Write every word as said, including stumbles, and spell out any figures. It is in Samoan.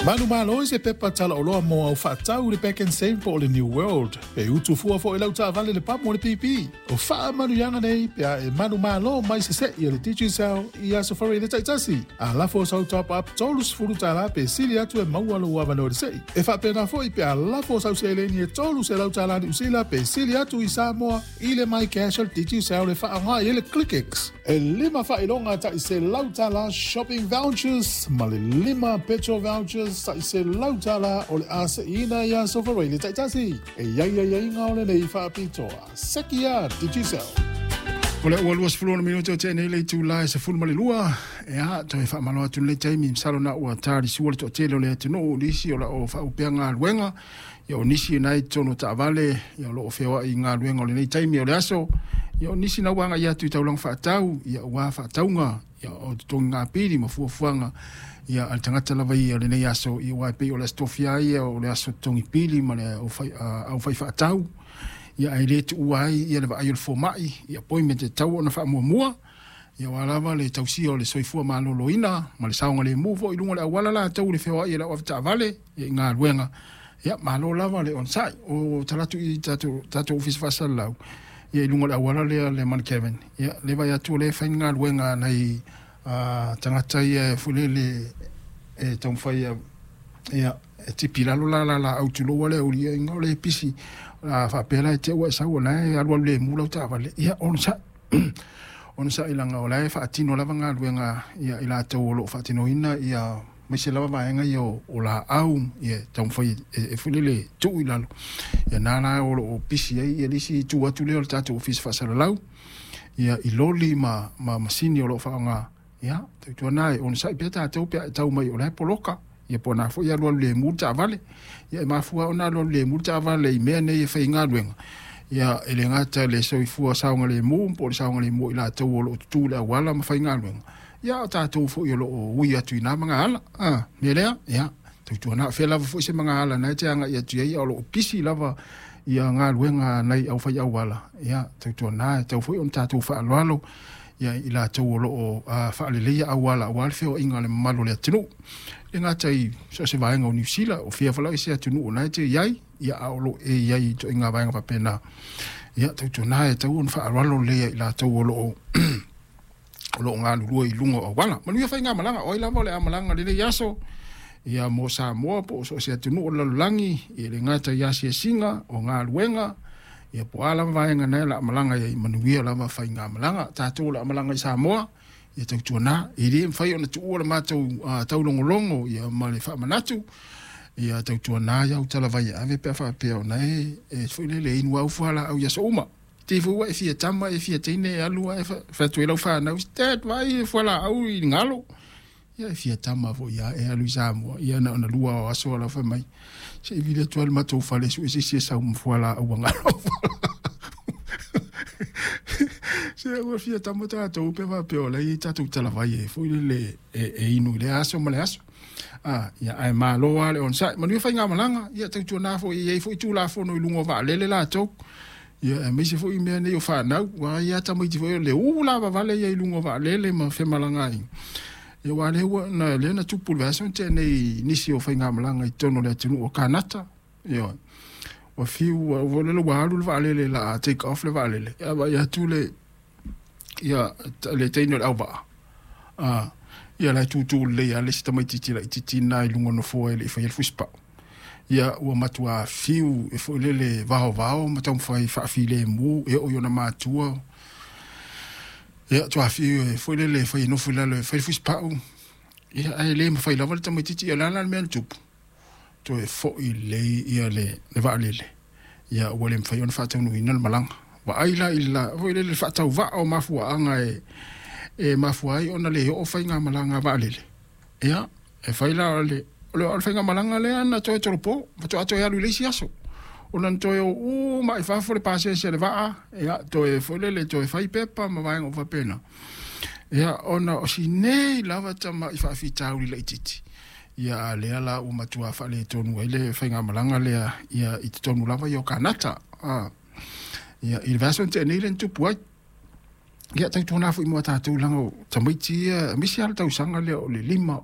Manumalo i se pepa talaoloa mo au faatau i le Pak'nSave po o le New World. Pe utu fua foi lau taavale le pamu o le P P. O faamanuiaga nei pe a e manumalo mai sese'i e le Digicel i aso Faraile taitasi. A lafo sau top up trīsefulu tālā pe sili atu e maua lou avanoa i le se'i. E faapena foi pe a lafo sau seleni e tolu selau tālā Niu Sila pe sili atu i Samoa i le MyCash o le Digicel e faaaoga i ai le ClickX. E lima faailoga ta'i selau tālā shopping vouchers ma le lima petrol vouchers ta'i selau tālā o le a se'iina i aso Faraile taitasi. E iai aiaiga o lenei faapitoa. Seki ia Digicel. O le ua luasefulu ono minute o tea nei le itulā e sefulu ma le lua. Ia, toe faamalo atu lenei taimi, masalo na ua talisua le toatele o le atunuu, nisi o loo faaupea galuega, ia o nisi na i totonu o taavale, ia o loo feoai i galuega o lenei taimi o le aso, ia o nisi na ua agai atu i taulaga faatau, ia ua faatauga, ia o totogiga pili ma fuafuaga ia a le tagata lava ia o lenei aso, ia aua e pei o le aso tofia ia o le aso totogi pili ma le aufai faatau, ia ae le tuua ai ia le vaai o le fomai, ia appointment e tatau ona faamuamua, ia aua lava le tausia o le soifua maloloina ma le saogalemu foi i luga o le auala latou le feoai e le au avetaavale ia i galuega. Ia malo lava le onosai o talatu i tatou tatou ofisa faasalalau ia i luga o le auala lea le Mount Kevin, ia le vaai atu o lea e fai galuega a nai tagata ia foi lele e taumafai ia e tipi i lalo la la laau tulou le auliiaiga o le pisi a faapea la e te ua e sau o la e alualu lemu lau taavale, ia onosai onosai laga o la e faatino lava galuega ia i latou o loo faatinoina ia maise lava vaega ia o, o laau ia taumafai e, e foi lele tuu i lalo ia na la o loo pisi ai ia le isi itu atu lea o le tatou ofisa faasalalau ia i loli ma, ma masini o loo faaaoga. Ia tautuana e onosai pea tatou pe a e tau mai o la e poloka ia po o na foi alualu lemu le taavale. Ia e mafua ona alualu lemu le taavale i mea nei e fai galuega ia e le gata le soifua saogalemu po o le saogalemu o i latou o loo tutū i le auala ma faigaluega, ia o tatou foi o loo ui atu i na magaala a mea lea. Ia tautuana o fea lava foi se magaala na e te agai atu ai o loo pisi lava ia galuega nai au fai auala, ia tautuana e tau foi ona tatou faaaloalo ia i latou o loo faaleleia auala aua le feoaiga o le mamalu o le atunuu, e gata i so o se vaega o Niu Sila o fia falai se atunuu o na e te iai, ia a o loo e iai i ituaiga vaega faapena. Ia tautuana e tau ona faaaloalo lelei i latou o loo o loo galulue i luga o auala. Manuia faigamalaga o ai lava o le amalaga lenei aso ia mo Samoa po o so o se atunuu o le lalolagi, ia le gata i asiasiga o galuega, ia po o a lava vaega na e la malaga ai, manuia lava faigamalaga. Tatou o le amalaga i Samoa, ia tautuana e le mafai ona tuua le matou uh, taulogologo ia ma le faamanatu. Ia tautuana iau talavai e ave pe a faapea ona e, e foi lele inu au fualaau i aso uma te foi ua e fia tama e fia teine e alu ae fai atu ai lau fanau, "Dad, vai fualaau i galo." Ia e fia tama foi ia e alu i Samoa ia na ona lua o aso ala fai mai se i vili atu ai le matou fale sue se isi e sau ma fualaau a galo se ua fia tama tatou pe faapea o la i tatou talavai e foi lele e, e inu i le aso ma le aso a. Ia ae malo a le onosai, manuia faigamalaga. Ia tautuana foi e iai foi tulafono i luga o vaalele latou, ia aemaise foi mea nei o fanau ua ia tamaiti foi o le ū lavavale ia i luga o vaalele ma femalaga ai. Ia ua lea ua na lea na tupu le vaiaso na tea nei nisi o faigamalaga i totonu o le atunuu o Kanata. Ia ua fiu ua lele ua alu le vaalele la take off le vaalele, ia vaai atu le ia le teine o le auvaa a ia la e tutū lelei a le isi tamaitiiti laitiiti na i luga o nofoa e le i faia le fusipau. Ia ua matua fiu e foi lele vaovao ma taumafai faafilemu e oo i ona matua, ia tuafiu e foi lele e fai e nofo i lalo e fai le fusipau, ia ae le mafai lava le tamaitiiti. Ia o le a la le mea na tupu? Toe fo'i lelei ia le, le vaalele, ia ua le mafai ona faataunuuina le malaga. Vaai la i la foi lele faatauvaa o mafuaaga e e mafua ai ona le oo faigamalaga vaalele. Ia e fai la o le o le, o le faigamalaga lea na toe tolopo faatoa toe alu i le isi aso ona na toe o uma i fafo le pasese le vaa, ia toe foi lele toe fai pepa ma vaega o faapena, ia ona o sinei lava tama'i faafitauli laitiiti ia a lea la ua matua faaletonu ai le faigamalaga lea ia i totonu lava ia o Kanata a ia i le vaiaso na tea nei le na tupu ai. Ia tautuana foi mo tatou laga o tamaiti ia aemaise lava le tausaga lea o le lima